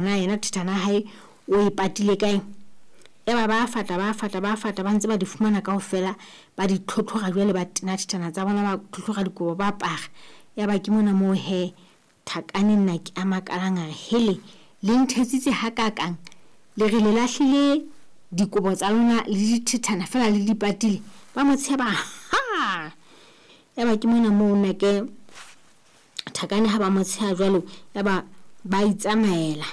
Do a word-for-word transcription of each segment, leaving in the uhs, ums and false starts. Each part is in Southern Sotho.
Na yena thethana ya hae o e patile kae. Yaba ba fata ba fata ba fata ba ntse ba di fumana kaofela, ba di tlhotlhora jwale ba tena thethana tsa bona, ba tlhotlhora dikobo ba apara. Yaba ke mona moo hee Thakane nna ke a makalang a re hele, le nthetsitse hakakang, le re le lahlile dikobo tsa lona le dithethana feela le di patile. Ba mo tsheba ha. Yaba ke mona moo nnake Thakane ha ba mo tsheha jwalo, yaba ba itsamaela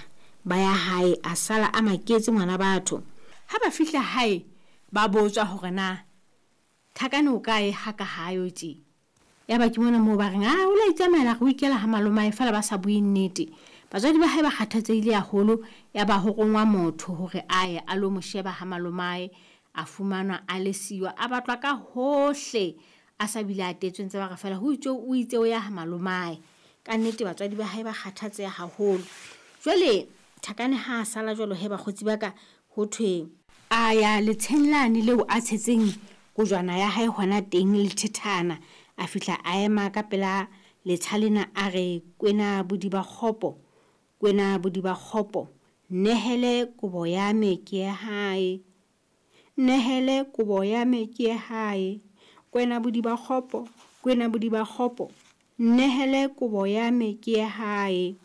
ba ya hae, a sala a maketse ngwana batho. Ha ba fihla hae ba botswa hore na Thakane o kae ha ka hayo tje. Yaba ke mona moo ba reng a o la itsamaela re o ikela ha malomae, feela ba sa bue nnete. Batswadi ba hae ba kgathatsehile haholo, yaba ho rongwa motho hore a ye a lo mo sheba ha malomae. A fumanwa a le siyo, a batlwa ka hohle, a sa bile a tetswe ntse ba re feela ho itswe o itse o ya ha malomae. Ka nnete batswadi ba hae ba kgathatseha haholo. Jwale Thakane ha a sala jwalo he bakgotsi ba ka, ho thwe a ya letsheng lane leo a tshetseng kojwana ya hae hona teng le thethana. A fihla a ema ka pela letsha lena a re kwena bodiba kgopo, kwena bodiba kgopo, nehele kobo ya me ke ye hae, nehele kobo ya me ke ye hae, kwena bodiba kgopo, kwena bodiba kgopo, nehele kobo ya me ke ye hae.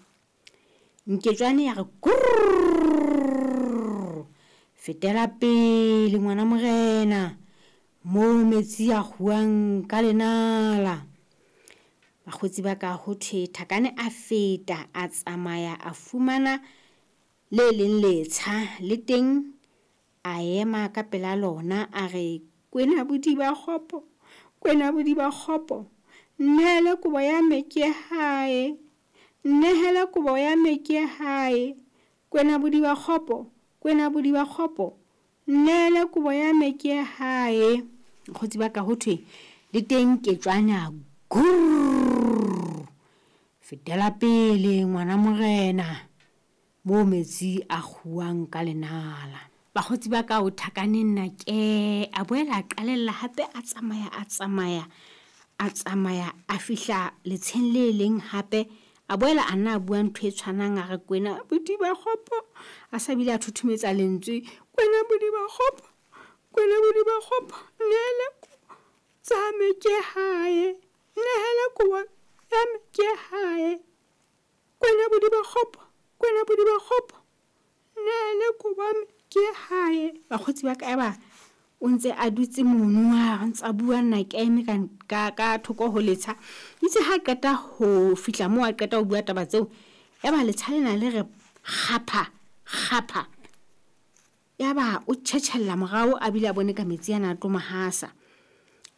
Nketswane ya re kurr, fetela pele ngwana morena, moo metsi a kguwang ka lenala. Bakgotsi ba ka ho thwe Thakane a feta a tsamaya a fumana le leng letsha le teng, a ema ka pela lona a re kwena bodiba kgopo, kwena bodiba kgopo, nehele kobo ya me ke ye hae, nehele kobo ya me ke ye hae, kwena bodiba kgopo, kwena bodiba kgopo, nehele kobo ya me ke ye hae. Bakgotsi ba ka ho thwe le teng Nketswane a gurr, fetela pele ngwana morena, moo metsi a kguwang ka lenala. Bakgotsi ba ka o Thakane nna ke a boela a qalella hape a tsamaya a tsamaya a tsamaya a fihla letsheng le leng hape. A boela a nna a bua ntho e tshwanang a re kwena bodiba kgopo, a sa bile a thothometsa lentswe, kwena bodiba kgopo, kwena bodiba kgopo, nehele kobo tsa me ke hae, nehele kobo ya me ke hae, kwena bodiba kgopo, kwena bodiba kgopo, nehele kobo ya me ke hae. Bakgotsi ba ka eba o ntse a dutse mono a ntse a bua nna ke eme ka, ka, ka thoko ho letsha. Itse ha qeta ho fihla moo a qeta ho bua taba tseo, yaba letsha lena le re kgapha kgapha. Yaba o tjhetjhella morao a bile a bone ka metsi ana a tlo mo hasa.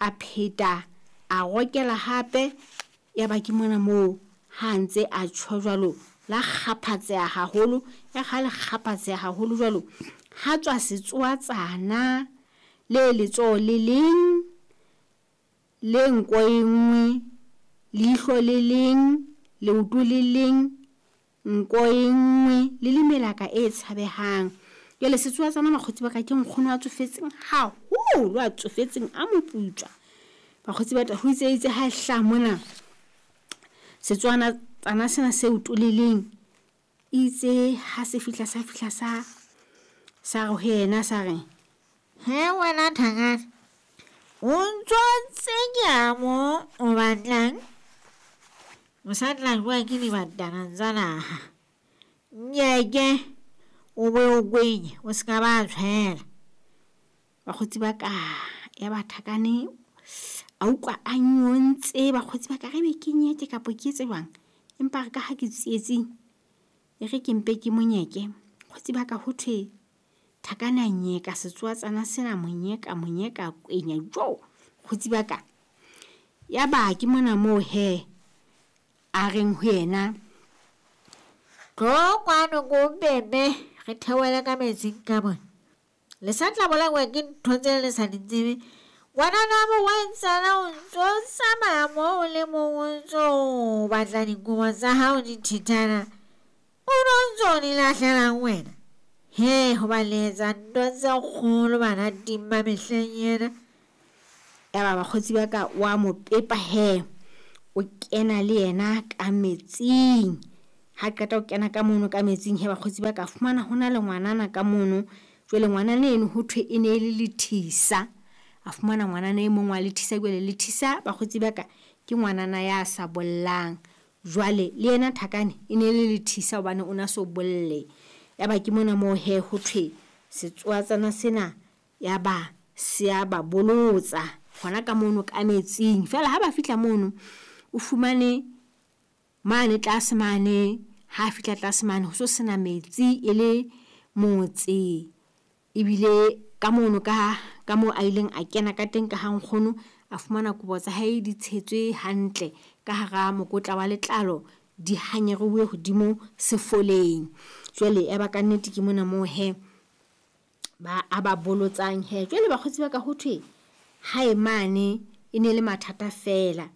A pheta a rokela hape, yaba ke mona moo ha ntse a tjho jwalo la kgaphatseha haholo. Ya ha le kgaphatseha haholo jwalo, ha tswa setsoatsana le letsoho le leng, le nko e nngwe, leihlo le leng, leoto le leng, nko e nngwe, le le melaka e tshabehang. Jwale setsoatsana bakgotsi ba ka ke nkgono a tsofetseng haholo, a tsofetseng a moputswa. Bakgotsi ba ka ho itse itse ha e hlaha mona setswana tsana sena seo toleleng, itse ha se fihla sa fihla sa sa re ho yena sa re he wena Thakane, o ntso tsenya mo o batlang, o sa tla jowa ke dibatana tsa naha. Nyeke o be o kwenye, o se ka ba tshwela. Bakgotsi ba ka ya ba Thakane a utlwa a nyontse. Bakgotsi ba ka re be ke nyeke kapa ke etse jwang, empa re ka ha ke tsietsing e re ke mpe ke monyeke. Bakgotsi ba ka ho thwe Thakane a nyeka setsoatsana sena, monyeka monyeka kwenya jo. Bakgotsi ba ka yaba ke mona moo he a reng ho yena, tlo kwano ko bebe re theohele ka metsing ka mona, le sa tla bolawa ke ntho tse le sa di tsebe. Ngwanana morwetsana o ntso tsamaya moo o le mong, o ntso batla dikobo tsa hao dithethana, o no ntso di lahlelang wena. He, hoba le etsa ntho tse kgolo bana ting ba mehleng ena. Yaba bakgotsi ba ka wa mo pepa he, o kena le yena ka metsing. Ha qeta ho kena ka mono ka metsing he bakgotsi ba ka fumana ho na le ngwanana ka mono. Jwale ngwanana eno ho thwe e ne le lethisa. A fumana ngwanana e mong wa lethisa. Jwale lethisa bakgotsi ba ka ke ngwanana ya sa bollang. Jwale le yena Thakane e ne le lethisa hobane o na so bolle. Ya ba ke mona moo he ho thwe setsoatsana sena ya ba se a ba bolotsa hona ka mono ka metsing. Feela ha ba fihla mono o fumane mane tlase mane, ha fihla tlase mane ho so sena metsi e le motse. Ebile ka mono ka ka moo a ileng a kena ka teng ka ha nkgono, a fumana kobo tsa hae di tshetswe hantle ka hara mokotla wa letlalo, di hanyeruwe hodimo sefoleng. Jwale ya ba kannete ke mona moo hee ba a ba bolotsang hee. Jwale bakgotsi ba ka ho thwe hae mane e ne le mathata feela.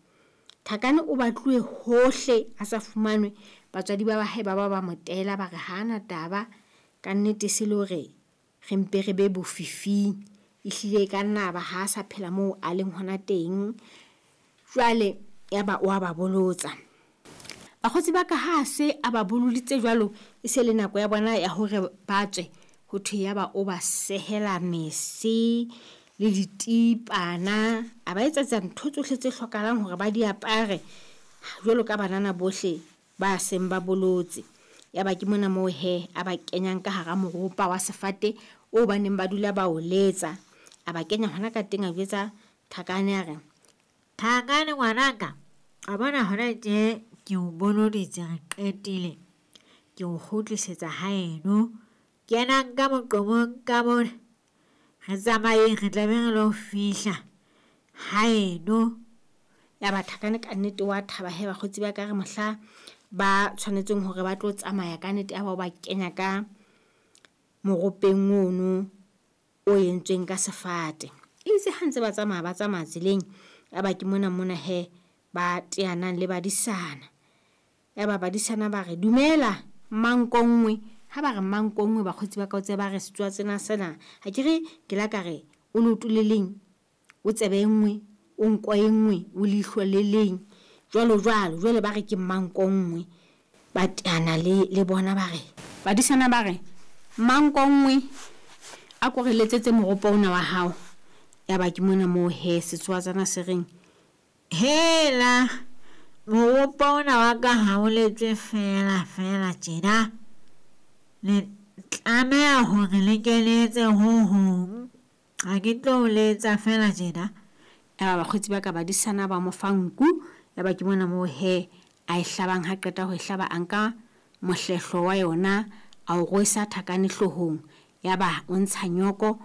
Thakane o batluwe hohle a sa fumanwe. Batswadi ba hae ba ba ba mo tela ba re hana taba kannete se le hore re mpe re be bofifing. Ehlile e ka nna ba ha sa phela moo a leng hona teng. Jwale ya ba wa ba bolotsa. Bakgotsi ba ka ha se a ba boloditse jwalo, e se le nako ya bona ya hore ba tswe. Ho thwe ya ba o ba sehela mese le ditipana, a ba etsetsa ntho tsohle tse hlokahalang hore ba di apare jwalo ka banana bohle ba seng ba bolotse. Ya ba ke mona moo hee a ba kenyang ka hara moropa wa sefate o ba neng ba dula ba o letsa. A ba kenya hona ka teng, a jwetsa Thakane a re, Thakane ngwanaka, wa bona hona tje ke o boloditse re qetile. Ke o kgutlisetsa haeno. Kenang ka moqomong ka mona. Re tsamayeng re tla be re lo fihla haeno. Ya ba Thakane kannete wa thaba he bakgotsi ba ka re mohla ba tshwanetseng hore ba tlo tsamaya kannete ya ba o ba kenya ka moropeng ono o entsweng ka sefate. Itse ha ntse ba tsamaya ba tsamaya tseleng, ya ba ke mona mona he ba teanang le badisana. Ya ba badisana ba re dumela mmankongwe. Ha ba re mmankongwe bakgotsi ba ka o tsebe ba re setsoatsana sena ha ke re ke la ka re o leoto le leng, o tsebe e nngwe, o nko e nngwe, o leihlo le leng jwalo jwalo. Jwale ba re ke mmankongwe. Ba teana le le bona ba re badisana ba re mmankongwe a ko re letsetse moropa ona wa hao. Ya ba ke mona moo he setsoatsana se reng, Hela, moropa ona wa ka ha o letswe feela feela tjena. Le tlameha hore le ke le etse ho hong. Ha ke tlo o letsa feela tjena. Ya ba bakgotsi ba ka badisana ba mo fa nku. Ya ba ke mona moo he a e hlabang. Ha qeta ho e hlaba, a nka mohlehlo wa yona a o rwesa Thakane hloohong. Ya ba o ntsha nyoko,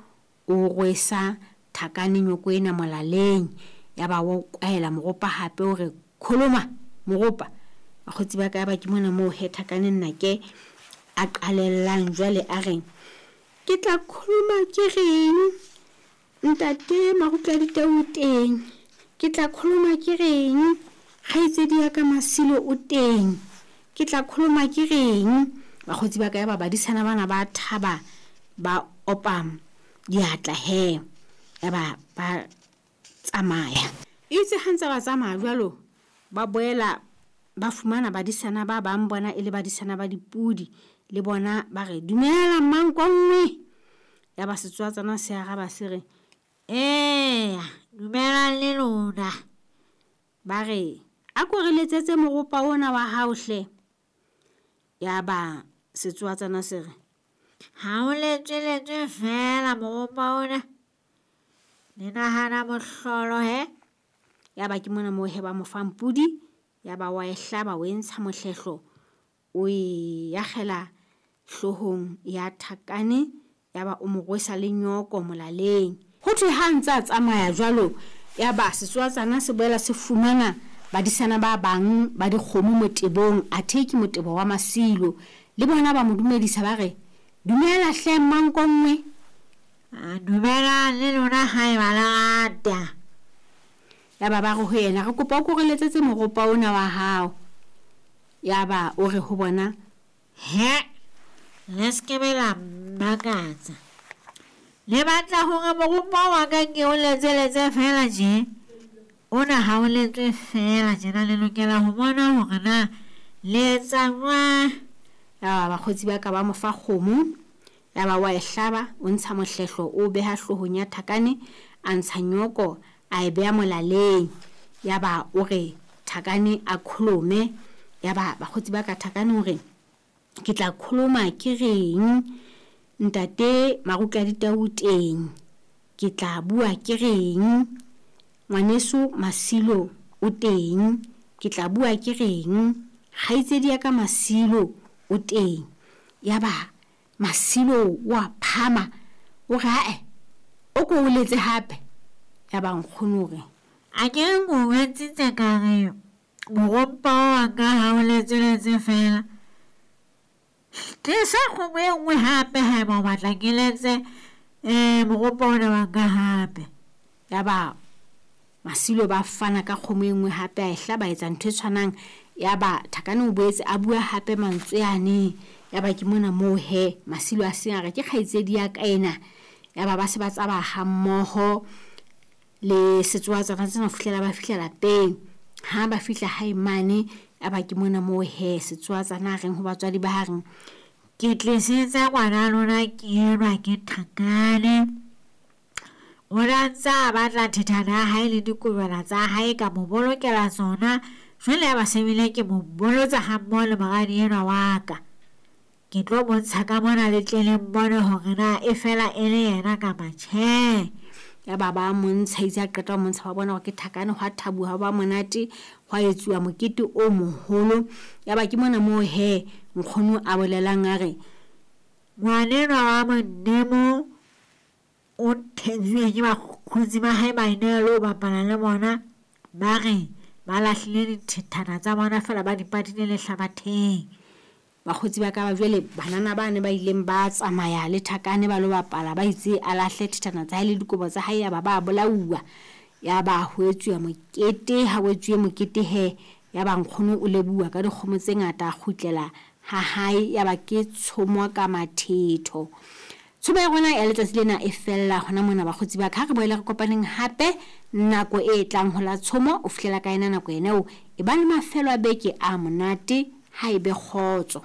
o rwesa Thakane nyoko ena molaleng. Ya ba o kwaela moropa hape o re kholoma moropa. Bakgotsi ba ka ya ba ke mona moo he Thakane nnake a qalellang jwale a reng, ke tla kholoma ke reng ntate Marutla Ditau o teng, ke tla kholoma ke reng kgaitsedi ya ka Masilo o teng, ke tla kholoma ke reng. Bakgotsi ba ka ya ba badisana bana ba thaba ba opa diatla he. Ya ba ba tsamaya. Itse ha ntse ba tsamaya jwalo, ba boela ba fumana badisana ba bang bona e le badisana ba dipudi. Le bona ba re dumela mmankongwe. Ya ba setsoatsana se araba se re, Eya, dumelang le lona. Ba re a ko re letsetse moropa ona wa hao hle. Ya ba setsoatsana se re, Ha o letswe letswe feela moropa ona. Le nahana mohlolo he. Ya ba ke mona moo he ba mo fang pudi. Ya ba wa e hlaba, o e ntsha mohlehlo, o e akgela hloohong ya Thakane. Ya ba o mo rwesa le nyoko molaleng. Ho thwe ha ntse a tsamaya jwalo, ya ba setsoatsana se boela se fumana badisana ba bang ba dikgomo motebong, athe ke motebo wa Masilo. Le bona ba mo dumedisa ba re dumela hle mmankongwe. A dumelang le lona haeba le rata. Ya ba ba re ho yena, re kopa o ko re letsetse moropa ona wa hao. Ya ba o re ho bona, He, le se ke be la mmakatsa. Le batla hore moropa wa ka ke o letseletse feela tje? Ona ha o letswe feela tjena, le lokela ho bona hore na Le etsa jwang? Yaba bakgotsi ba ka ba mo fa kgomo, yaba wa e hlaba, o ntsha mohlehlo o beha hloohong ya Thakane, a ntsha nyoko a e beha molaleng. Yaba o re Thakane a kholome. Yaba bakgotsi ba ka Thakane o re ke tla kholoma ke reng, ntate Marutla Ditau teng, ke tla bua ke reng, ngwaneso Masilo o teng, ke tla bua ke reng, kgaitsedi ya ka Masilo o teng. Yaba Masilo wa phama o re ae o ko o letse hape. Yaba nkgono o re A ke re ko jwetsitse ka re morompa wa ka ha o letse letse fela. Tlisa kgomo e nngwe hape haeba o batla ke letse um morompa ona wa ka hape. Yaba Masilo ba fana ka kgomo e nngwe hape, a e hlaba, a etsa ntho e tshwanang. Yaba Thakane o boetse a bua hape mantswe ane. Yaba ke mona moo he Masilo a seng a re ke kgaitsedi ya ka ena. Yaba ba se ba tsamaya ha mmoho le setsoatswana tsena ho fihlela ba fihla lapeng. Ha ba fihla hae mane, yaba ke mona moo he setsoatsana a reng ho batswadi ba ha reng Ke tlisitse ngwana lona ke enwa ke Thakane. O ne a ntse a batla thethana ya hae le dikobela tsa hae, ka mo bolokela tsona. Jwale ya ba se bile ke mo bolotsa ha mmoho le moradi enwa wa ka. Ke tlo bontsha ka mona le tle le mbone hore na e fela e le yena kapa tjhe. Yaba ba montsha, itse a qeta ho montsha ba bona hore ke Thakane, hwa thabuwa ha ba monate, hwa etsuwa mokete o moholo. Yaba ke mona moo he nkgono a bolelang a re Ngwanenwa wa Modimo o thetsuwe ke bakgotsi ba hae ba ene lo bapala le bona. Ba re ba lahlile dithethana tsa bona feela ba di patile lehlabatheng. Bakgotsi ba ka ba jwale banana bane ba ileng ba tsamaya le Thakane ba lo bapala, ba itse a lahle thethana tsa hae le dikobo tsa hae, yaba ba bolauwa. Yaba ho etsuwa mokete, ha ho etsuwe mokete he, yaba nkgono o lebohuwa ka dikgomo tse ngata, a kgutlela ha hae. Yaba ke tshomo ka mathetho. Tshomo ya rona ya letsatsi lena e fella hona mona bakgotsi ba ka. Ha re boele re kopaneng hape nako e tlang ho la tshomo. O fihlela ka ena nako ena eo e ba le mafelo a beke a monate, ha e be kgotso.